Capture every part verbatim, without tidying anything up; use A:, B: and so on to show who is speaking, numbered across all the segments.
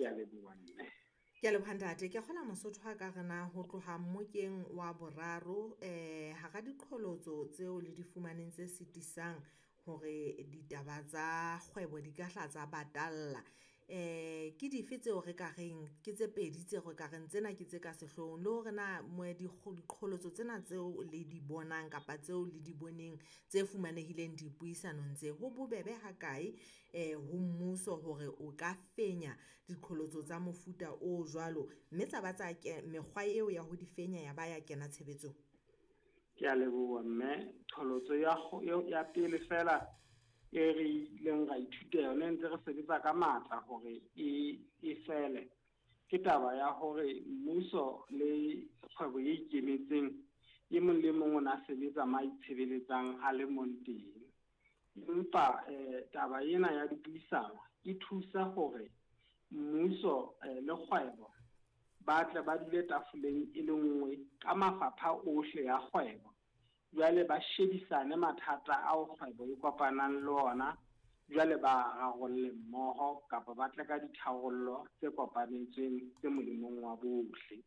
A: Ke a leboha mme.
B: Ke a leboha ntate. Ke kgola Mosotho ha ka re na ho tloha mmokeng wa boraro eh hara diqholotso tseo le di fumaneng tse sitisang hore ditaba tsa kgwebo di ka hla tsa batalla. Eh ke dife tseo re ka reng ke tse pedi tseo re ka reng tsena ke tse ka sehloohong, le hore na diqholotso tsena tseo le di bonang kapa tseo le di boneng tse fumanehileng dipuisanong tse, ho bobebe ha kae eh ho mmuso hore o ka fenya diqholotso tsa mofuta o jwalo, mme tsa ba tsa mekgwa eo ya ho di fenya ya ba ya kena tshebetsong?
A: Ke a leboha mme. Qholotso ya ya pele fela e re ileng ra ithuta yona ntse re sebetsa ka matla hore e e fele, ke taba ya hore mmuso le kgwebo e ikemetseng e mong le mong o na sebetsa ma itshebeletsang a le mong teng. Empa eh taba ena ya dipuisano e thusa hore mmuso le kgwebo ba tle ba dule tafoleng e le nngwe ka mafapha ohle ya kgwebo. Jwale ba shebisane mathata ao kgwebo e kopanang le ona, jwale ba rarolle mmoho kapa ba tle ka ditharollo tse kopanetsweng tse molemong wa bohle.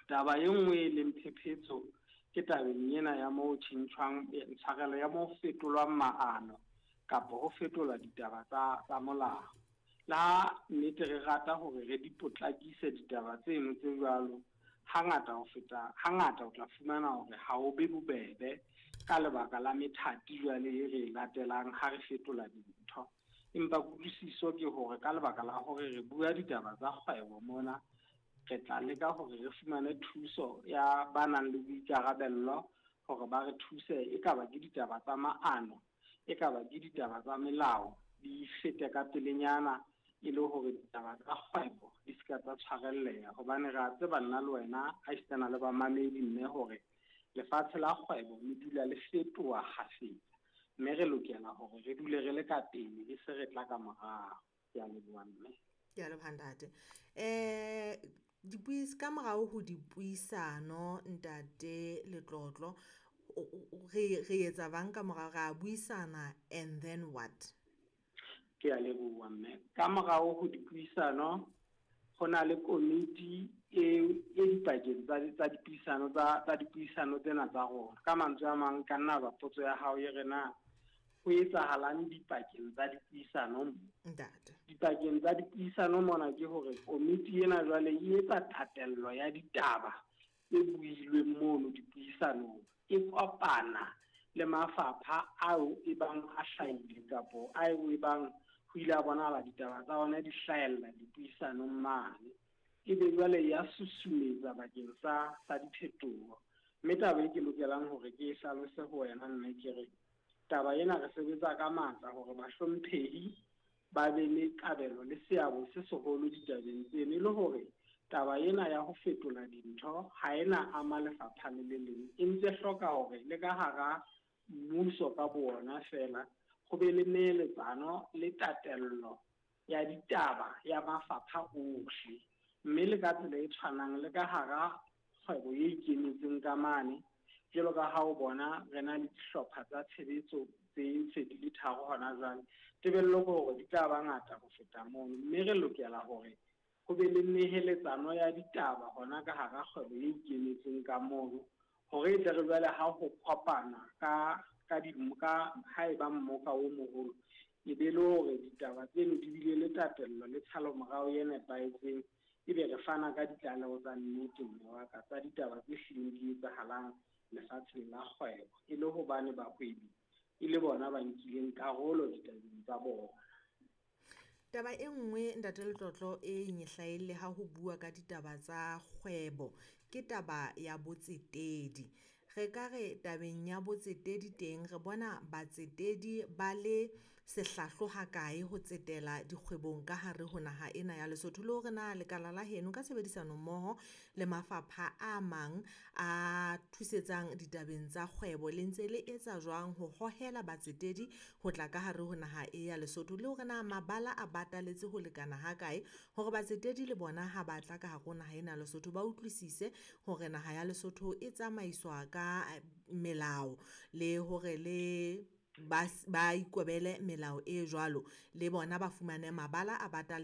A: Taba e nngwe e leng phephetso ke tabeng ena ya moo tjhentjhwang tshwarelo ya moo fetolwang maano kapa ho fetolwa ditaba tsa tsa molao. Le ha nnete re rata hore re di potlakise ditaba tseno tse jwalo, hangata ho feta hangata o tla fumana hore ha o be bobebe ka lebaka la methati jwale e re e latelang ha re fetola dintho. Empa kutlwisiso ke hore ka lebaka la hore re bua ditaba tsa kgwebo mona, re tla leka hore re fumane thuso ya ba nang le boikarabello hore ba re thuse, e ka ba ke ditaba tsa maano, e ka ba ke ditaba tsa melao, di fete ka pelenyana e le hore ditaba tsa kgwebo di ska tsa tshwarelleha. Hobane re a tseba nna le wena ha esitana le bamamedi mme hore lefatshe la kgwebo le dula le fetoha kgafetsa, mme re lokela hore re dule re le ka pele e se re tla ka morao. Ke a leboha mme.
B: Ke a leboha ntate. Eh dipuis ka morao ho dipuisano ntate Letlotlo, re re etsa bang ka morao, ra buisana and then what?
A: Ke a leboha mme. Ka morao ho dipuisano ho na le komiti e e dipakeng tsa tsa dipuisano tsa tsa dipuisano tsena tsa rona. Ka mantswe a mang, ka nna ba potso ya hao e re na ho etsahalang dipakeng tsa dipuisano?
B: Ntate.
A: Dipakeng tsa dipuisano mona ke hore komiti ena jwale e etsa tatello ya ditaba tse builweng mono dipuisanong, e kopana le mafapha ao e bang a hlahile kapo ao e bang ho ile a bonahala ditaba tsa ona di hlahella dipuisanong mane, ebe jwale ya susumetsa bakeng sa sa diphetoho. Mme taba e ke lokelang hore ke e hlalose ho wena mme ke re taba ena re sebetsa ka matla hore bahlomphehi ba be le kabelo le seabo se seholo ditabeng tseno, e le hore taba ena ya ho fetola dintho ha ena ama lefapha le le leng, e ntse hloka hore le ka hara mmuso ka bo ona fela ho be le neeletsano le tatello ya ditaba ya mafapha ohle. Mme le ka tsela e tshwanang le ka hara kgwebo e ikemetseng ka mane, jwalo ka ha o bona re na le dihlopha tsa tshebetso tse se di le tharo hona jwale, tebello ke hore di tla ba ngata ho feta mono. Mme re lokela hore ho be le neheletsano ya ditaba hona ka hara kgwebo e ikemetseng ka mono, hore e tle re jwale ha ho kopana ka ka di ka ha eba mmoka o moholo, e be le hore ditaba tseno di bile le tatello le tshalomorao e nepahetseng, ebe re fana ka ditlaleho tsa nnete mme wa ka tsa ditaba tse hlileng di etsahalang lefatsheng la kgwebo, e le hobane bahwebi e le bona ba nkileng karolo ditabeng tsa bona.
B: Taba e nngwe ntate Letlotlo e nyehlaelle ha ho bua ka ditaba tsa kgwebo ke taba ya botsetedi. Re ka re tabeng ya botsetedi teng re bona batsetedi ba le sehlahlo ha kae ho tsetela dikgwebong ka hare ho naha ena ya Lesotho, le hore na lekala la heno ka tshebedisano mmoho le mafapha a mang a thusetsang ditabeng tsa kgwebo le ntse le etsa jwang ho hohela batsetedi ho tla ka hare ho naha e ya Lesotho, le hore na mabala a bataletse ho lekana ha kae hore batsetedi le bona ha ba tla ka hare ho naha ena ya Lesotho ba utlwisise hore naha ya Lesotho e tsamaiswa ka melao le hore le ba ba ikobele melao e jwalo, le bona ba fumane mabala a batale